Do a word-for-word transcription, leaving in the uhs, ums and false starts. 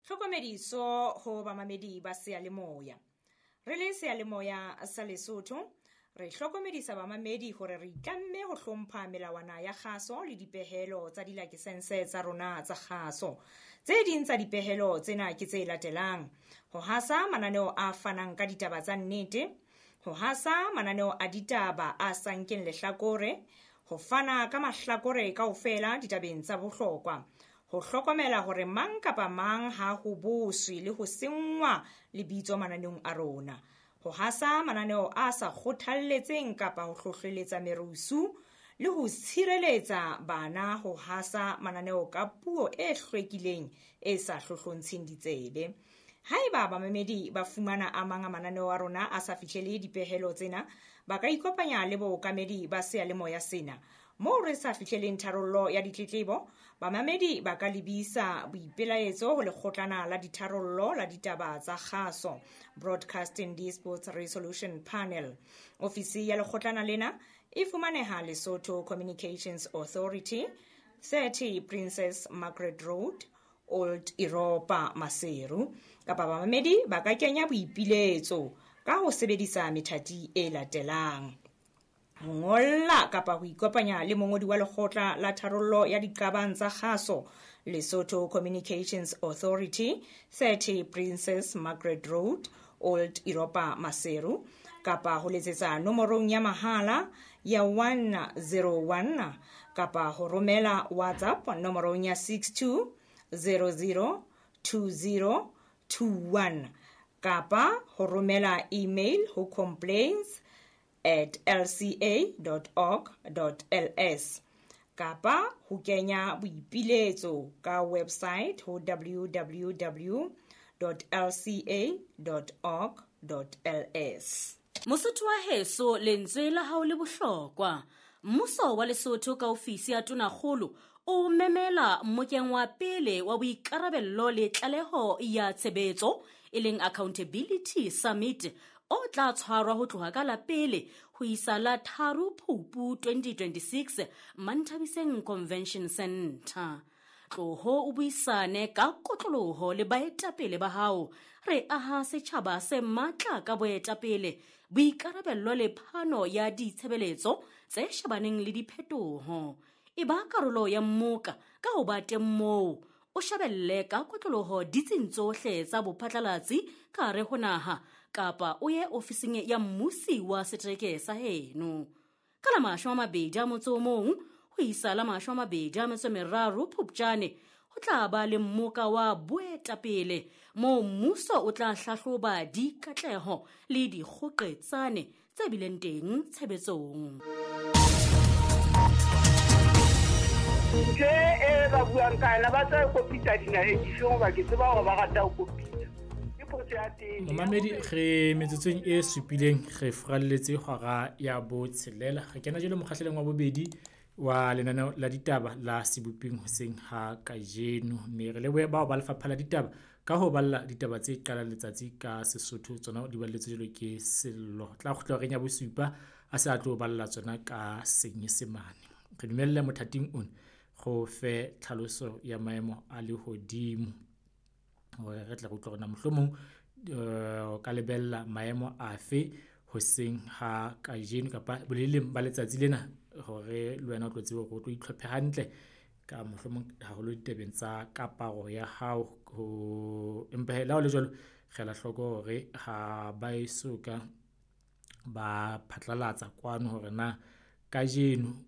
Tlhokomediso ho bamamedi ba seyalemoya. Re le seyalemoya sa Lesotho, re hlokomedisa bamamedi hore re itlamme ho hlompha melawana ya kgaso le dipehelo tsa dilakesense tsa rona tsa kgaso. Tse ding tsa dipehelo tsena ke tse latelang: ho hasa mananeo a fanang ka ditaba tsa nnete, ho hasa mananeo a ditaba a sa nkeng lehlakore, ho fana ka mahlakore kaofela ditabeng tsa bohlokwa, ho hlokomela hore mang kapa mang ha ho boswe le ho senngwa lebitso mananeong a rona, ho hasa mananeo a sa kgothalletseng kapa ho hlohleletsa merusu le ho tshireletsa bana ho hasa mananeo ka puo e hlwekileng e sa hlohlontsheng ditsebe. Haeba bamamedi ba fumana a mang a mananeo a rona a sa fihlele dipehelo tsena, ba ka ikopanya le bookamedi ba seyalemoya sena. Moo re sa fihleleng tharollo ya ditletlebo, bamamedi ba ka lebisa boipelaetso ho lekgotlana la ditharollo la ditaba tsa kgaso, Broadcasting Disputes Resolution Panel. Ofisi ya lekgotlana lena e fumaneha Lesotho Communications Authority, thirty Princess Margaret Road, Old Europa, Maseru. Kapa bamamedi ba ka kenya boipiletso ka ho sebedisa methati e latelang: ho ngolla kapa ho ikopanya le mongodi wa lekgotla la tharollo ya diqabang tsa kgaso, Lesotho Communications Authority, thirty Princess Margaret Road, Old Europa, Maseru, kapa ho letsetsa nomorong ya mahala ya one zero one kapa ho romela WhatsApp nomorong ya six two zero zero two zero two one kapa ho romela email ho complaints at l c a dot org dot l s kapa ho kenya boipiletso ka website ho w w w dot l c a dot org dot l s. Mosotho wa heso, lentswe la hao le bohlokwa. Mmuso wa Lesotho ka ofisi ya Tonakgolo o memela mmokeng wa pele wa boikarabello le tlaleho ya tshebetso, e leng Accountability Summit, o tla tshwarwa ho tloha ka la pele ho isa la tharo Phupu twenty twenty-six Manthabiseng Convention Center. Tloho o buisane ka kotloloho le baetapele ba hao. Re aha setjhaba se matla ka boetapele, boikarabello le phano ya ditshebeletso tse shebaneng le diphetoho. E ba karolo ya mmoka ka ho ba teng moo, o shebelle ka kotloloho ditsing tsohle tsa bophatlalatsi ka hare ho naha, kapa o ye ofising ya mmusi wa setereke sa heno. Ka la mashome a mabedi a motso o mong ho isa la mashome a mabedi a metso e meraro Phupjane, ho tla ba le mmoka wa boetapele moo mmuso o tla hlahloba dikatleho le dikgoqetsane tse bileng teng tshebetsong. Ntho e ba buang ka yona, ba tla kopitsa dinaheng dife hoba ke tseba hore ba rata ho kopitsa. Ke potso ya teng. Momamedi, re metsotsong e supileng re furalletse hora ya botshelela. Re kena jwale mokgahlelong wa bobedi wa lenaneo la ditaba la Seboping hoseng ha kajeno. Mme re lebohe bao ba lefapha la ditaba ka ho balla ditaba tse qalang letsatsi ka Sesotho, tsona di balletswe jwalo ke Sello. Tla kgutla horeng ya bosupa a se a tlo balla tsona ka Senyesemane. Re dumelle mothating ona go fe tlhaloso ya maemo a lehodimo hore re tle re utlwe hore na mohlomong, eh, o ka lebella maemo afe hoseng ha kajeno kapa boleleng ba letsatsi lena, hore le wena o tlo tsebe hore o tlo itlhophe hantle ka mohlomong haholo ditabeng tsa kaparo ya hao. Ho empa hee, le ha ho le jwalo, re ela hloko hore ha ba eso ka ba phatlalatsa kwano hore na kajeno